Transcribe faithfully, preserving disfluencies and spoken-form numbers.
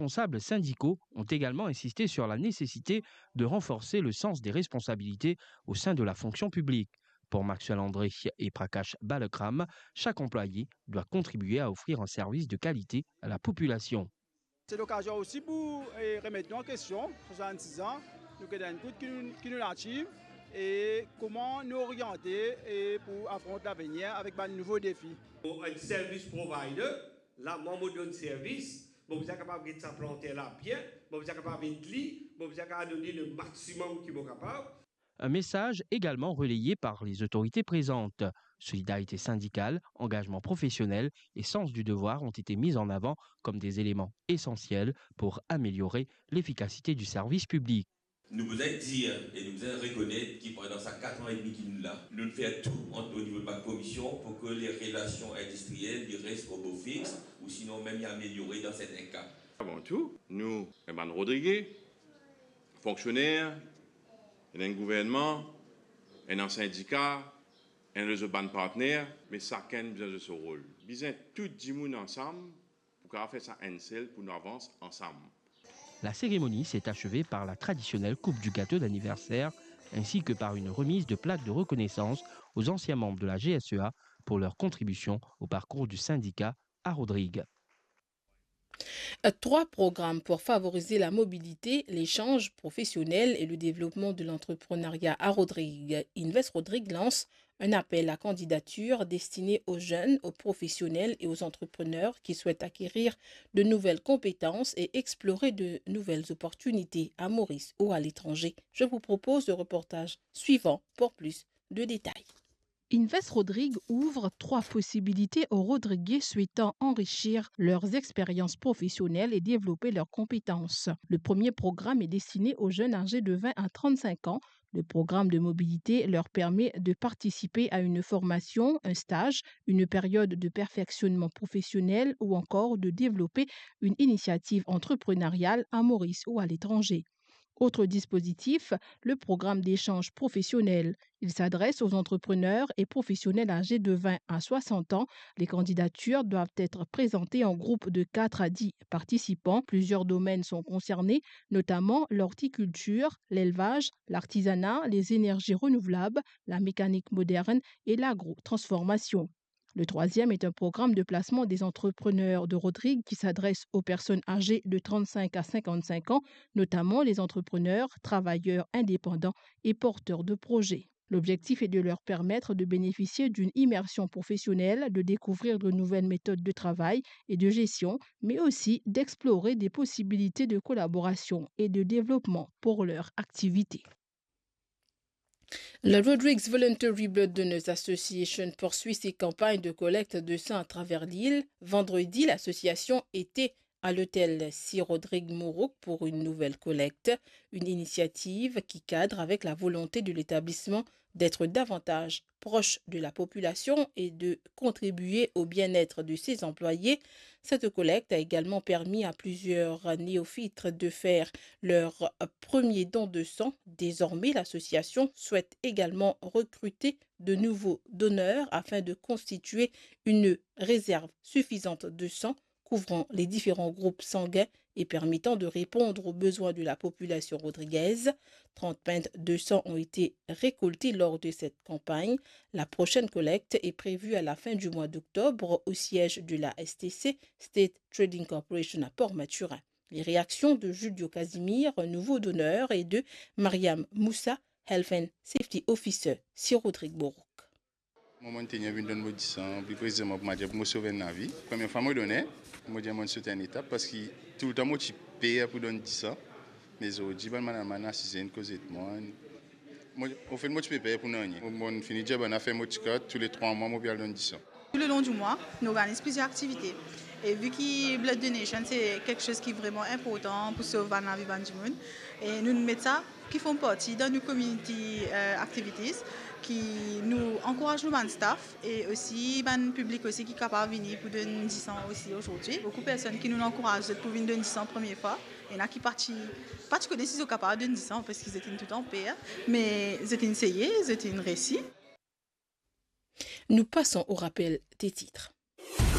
responsables syndicaux ont également insisté sur la nécessité de renforcer le sens des responsabilités au sein de la fonction publique. Pour Maxwell André et Prakash Balakram, chaque employé doit contribuer à offrir un service de qualité à la population. C'est l'occasion aussi pour, eh, remettre nous en question, soixante-six ans, nous qui avons une écoute qui nous, qui nous native, et comment nous orienter et pour affronter l'avenir avec de nouveaux défis. Pour un service provider, la, mwa, mo donn servis, mo bizin kapav get sa planter la bien, mo bizin kapav ed li, mo bizin kapav donn li le maximum ki mo kapav. Un message également relayé par les autorités présentes. Solidarité syndicale, engagement professionnel et sens du devoir ont été mis en avant comme des éléments essentiels pour améliorer l'efficacité du service public. Nou bizin dir e nou bizin rekonet ki pandan sa kat an edmi ki nou la, nou fer tou ant, o nivo de bann komision pou ki le relasion industriel li res o bo fix, ou sinon mem li ameliore dan serten ka. Avan tou, nou, enn bann Rodrige, fonksioner, ena enn gouvernman, ena sindika, ena lezot bann partner, me sakenn bizin zwe so rol. Bizin tou dimoun ansam pou kapav fer sa enn sel, pou nou avans ansam. La cérémonie s'est achevée par la traditionnelle coupe du gâteau d'anniversaire, ainsi que par une remise de plaques de reconnaissance aux anciens membres de la G S E A pour leur contribution au parcours du syndicat à Rodrigues. Trois programmes pour favoriser la mobilité, l'échange professionnel et le développement de l'entrepreneuriat à Rodrigues. Invest Rodrigues lance un appel à candidature destiné aux jeunes, aux professionnels et aux entrepreneurs qui souhaitent acquérir de nouvelles compétences et explorer de nouvelles opportunités à Maurice ou à l'étranger. Je vous propose le reportage suivant pour plus de détails. Invest Rodrigues ouvre trois possibilités aux Rodriguais souhaitant enrichir leurs expériences professionnelles et développer leurs compétences. Le premier programme est destiné aux jeunes âgés de vingt à trente-cinq ans. Le programme de mobilité leur permet de participer à une formation, un stage, une période de perfectionnement professionnel ou encore de développer une initiative entrepreneuriale à Maurice ou à l'étranger. Autre dispositif, le programme d'échange professionnel. Il s'adresse aux entrepreneurs et professionnels âgés de vingt à soixante ans. Les candidatures doivent être présentées en groupe de quatre à dix participants. Plusieurs domaines sont concernés, notamment l'horticulture, l'élevage, l'artisanat, les énergies renouvelables, la mécanique moderne et l'agro-transformation. Le troisième est un programme de placement des entrepreneurs de Rodrigues qui s'adresse aux personnes âgées de trente-cinq à cinquante-cinq ans, notamment les entrepreneurs, travailleurs indépendants et porteurs de projets. L'objectif est de leur permettre de bénéficier d'une immersion professionnelle, de découvrir de nouvelles méthodes de travail et de gestion, mais aussi d'explorer des possibilités de collaboration et de développement pour leur activité. La Rodrigues Voluntary Blood Donors Association poursuit ses campagnes de collecte de sang à travers l'île. Vendredi, l'association était à l'hôtel Sir Rodrigue Mourouk pour une nouvelle collecte, une initiative qui cadre avec la volonté de l'établissement d'être davantage proche de la population et de contribuer au bien-être de ses employés. Cette collecte a également permis à plusieurs néophytes de faire leur premier don de sang. Désormais, l'association souhaite également recruter de nouveaux donneurs afin de constituer une réserve suffisante de sang couvrant les différents groupes sanguins et permettant de répondre aux besoins de la population rodriguaise. Trente pintes de sang ont été récoltées lors de cette campagne. La prochaine collecte est prévue à la fin du mois d'octobre au siège de la S T C, State Trading Corporation à Port-Mathurin. Les réactions de Julio Casimir, nouveau donneur, et de Mariam Moussa, Health and Safety Officer, Sir Rodrigue Mourouk. Mwa, mo'nn tenir vinn donn mo disan, pli presizeman pou mwa dir pou mo sov enn lavi. Premie fwa mo done, mo dir mo'nn sot enn etap, parski toultan mo ti per pou donn disan. Me zordi, bann madam asize, inn koz ek mwa. Mo, anfet, mo ti pe per pou nanye. Mo, mo'nn fini dir bann afer mo ti kar, tou le trwa mwa, mo pe al donn disan. Tout le long du mois, nou organiz plizier aktivite. E vi ki blood donation, se kiksoz ki vreman inportan pou sov bann lavi bann dimoun. E nou met sa ki form parti dan nou community, eh, activities, ki nou ankouraz nou bann staff e osi bann piblik osi ki kapav vini pou donn disan osi azordi. Boukou personn ki nou ankouraz zot pou vinn donn disan premie fwa. Ena ki pa ti, pa ti kone si zot kapav donn disan, parski zot inn toultan per, me zot inn seye, zot inn resi. Nous passons au rappel des titres.